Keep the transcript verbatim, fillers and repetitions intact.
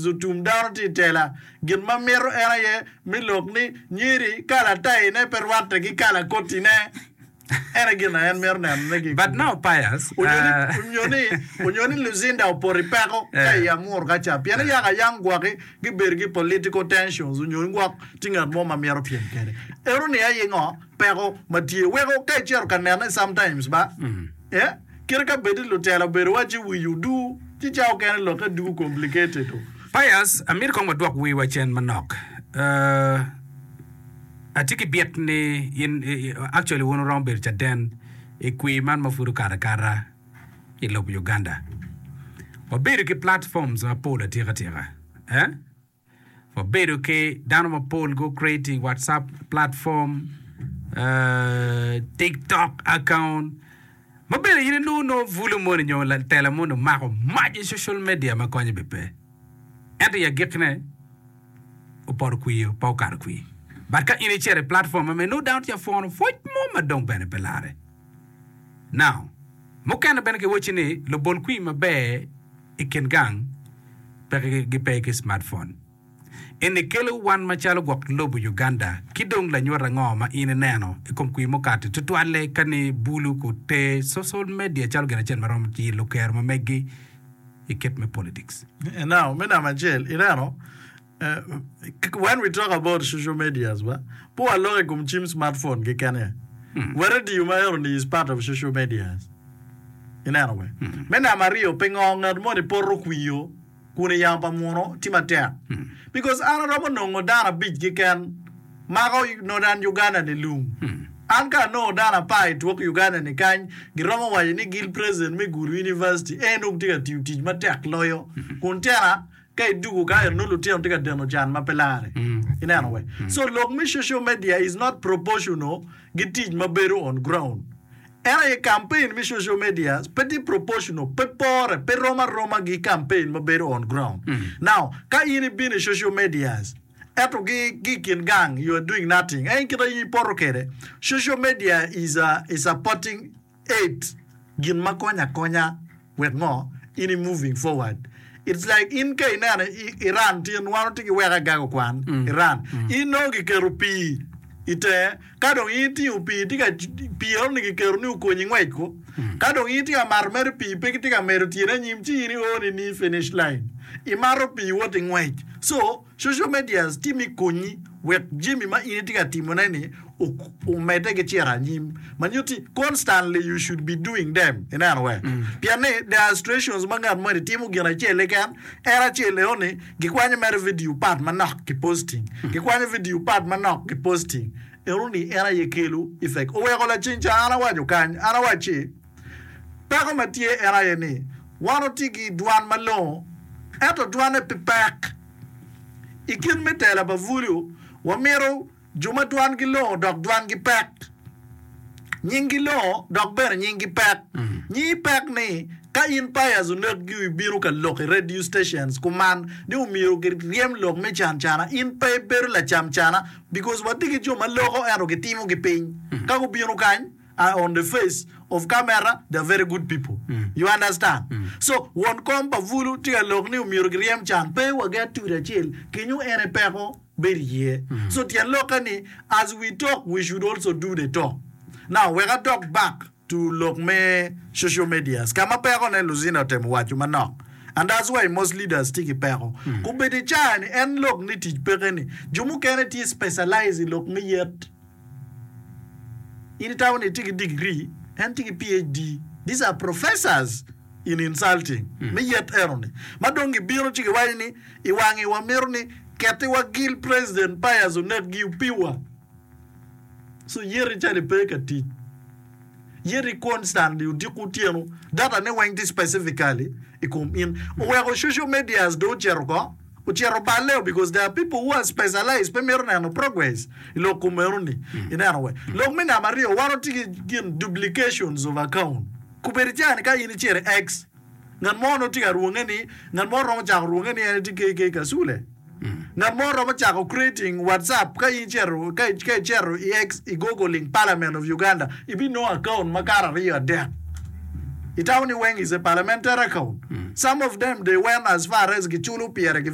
Otum dano tye i tela. Gin ma mito en aye me lok ni nyeri kala tayine pe rwatte ki kala kotine. En aye gin ma en mito nenone ki i But kome. now Pius, Onyo ni, uh, onyo ni, onyo ni Lucinda opoto i peko ka eh, i amuru ka ca. Pien yaka yam gwoki gibedo ki political tensions onyo ni gwok tye ngat mo ma mito pyem kwede. Eno ni aye ngo? Peko ma tye. Weko ka icito ka nene sometimes ba, eh, kite ka bed ni lutela obedo wacci wiyi odur, ci ca okene lokke dugo complicated o. Pius, amito kong wadwok wiwa cen manok. Uh, atye ki byek ni in, i- i- actually wun wuromo bedo caden i kwir man ma pud okato akata i lobo Uganda. Wabedo ki platforms mapol atika tika. Eh? Wabedo ki dano mapol go creating WhatsApp platform, uh, TikTok account. Ma bene in inongo nongo bulu moni nyo tela moni omako mac i social media ma konye be pe. Ento i agikine opoto kwir pe okato kwir. But ka in icito i platform ma meno dano tye ka pwono pwoc mo ma dong bene pe lare. Now, mukene bene giwacci ni lubol kwir maber i kin gang pe gipe ki smartphone. Eni kelo wan macalo gwok lobo Uganda ki dong lanyut ango ma in ineno i kom kwir mukato tutwalle ka ni bulu ku te social media calo gin acel ma romo yilo kero ma meggi i kit me politics. Now, me namba acel, ineno, eh, when we talk about social medias, ba, pe waloko i kom cim smartphone keken. Wa radio ma eno ni is part of social medias. Ineno we? Me namba aryo, pingo ngat moni poto kwio kun i yamo pa muno tye matek? Because an aromo nongo dano abic keken mako Northern Uganda ni lung. An ka anongo dano apar i twok Uganda ni kany, giromo waco ni gil president me Gulu University en dong tye ka tiyo tic matek loyo. Kun tena ka idugo ka eno lutino tye ka deno can ma pe lare. Ineno we? So lok me social media is not proportional gi tic ma bedo on ground. En aye campaign me social media pe tye proportional, pe pore, pe rom aroma gi campaign ma bedo on ground. Now, ka in ibino i social medias, ento gi ki i kin gang you are doing nothing. En kite in ipoto kwede. Social media is a, is supporting aid gin ma konyo akonya wek ngo in i moving forward. It's like in ka ineno i Iran tin wan watye ki weko agago kwan Iran. In nongo giketo pii i tenge ka dong in itingo pii tye ka pii eno ni giketo ni okonyi ngwec ko. Ka dong in itye ka mato mere pii pe gitye ka medo tyene anyim ci in io ni ni finish line. Imato pii wot i ngwec. So social medias tye me konyi wek jami ma in itye ka timone ni omedde ki cito anyim. Ma nyutti constantly you should be doing them. Ineno we? Pien ni there are situations ma ngat moni timo gin acel keken, en acel eno ni gikwanyo mere video part manok ki posting. Gikwanyo video part manok ki posting. Eno ni en aye kelo effect. Oweko laceng ca an awaco kany, an awacci peko ma tye en aye ni wan watye ki dwan malongo ento dwane pe pek. I kit me tela pa bulu wamito jo ma dwangi longo dok dwangi pek. Nyinggi longo dok bene nyinggi pek. Nyingi pek ni ka in Pius Onekgi ibino ka lok i radio stations kuman ni omyero giryem lok me can cana in pe ibedo lacam cana because watye ki jo ma loko ento gitimo gi piny. Ka gubino kany are on the face of camera they are very good people. You understand? So won kom pa bulu tye ka lok ni omyero giryem can pe waget tudo acel kenyo en aye peko bedo iye. So tyen lokke ni as we talk we should also do the talk. Now wek adok back to lok me social medias ka ma pekone Luzina otemo waco manok and that's why most leaders tye ki peko. Kobedo i caa ni en lok ni tic peke ni jo mukene tye specialize i lok me yet. In itamo ni itye ki degree, en tye ki PhD. These are professors in insulting me yet eno ni. Ma dong gibino ci giwaco ni i wangi wamito ni ketiwa gil President Pius Onekgi opiwa. So yeti calo ipe ka tic. Yeti constantly odiko otyeno. Data ne weng tye specifically i kom in. Oweko social medias dong ocito ko. Ocito balle because there are people who are specialized pe mito neno progress i lok kom eno ni. Ineno we. Lok me namba aryo wan watye ki gin duplications of account. Kobedo i caa ni ka in icito i X ngat mo nongo tye ka rwonge ni ngat mo romo cako rwonge ni en tye K K Kasule. Ngat mo romo cako creating WhatsApp ka in icito ka icito i X i googling Parliament of Uganda ibinongo account makato aryo adek. Itamo ni weng is a parliamentary account. Some of them they went as far as giculo pire gi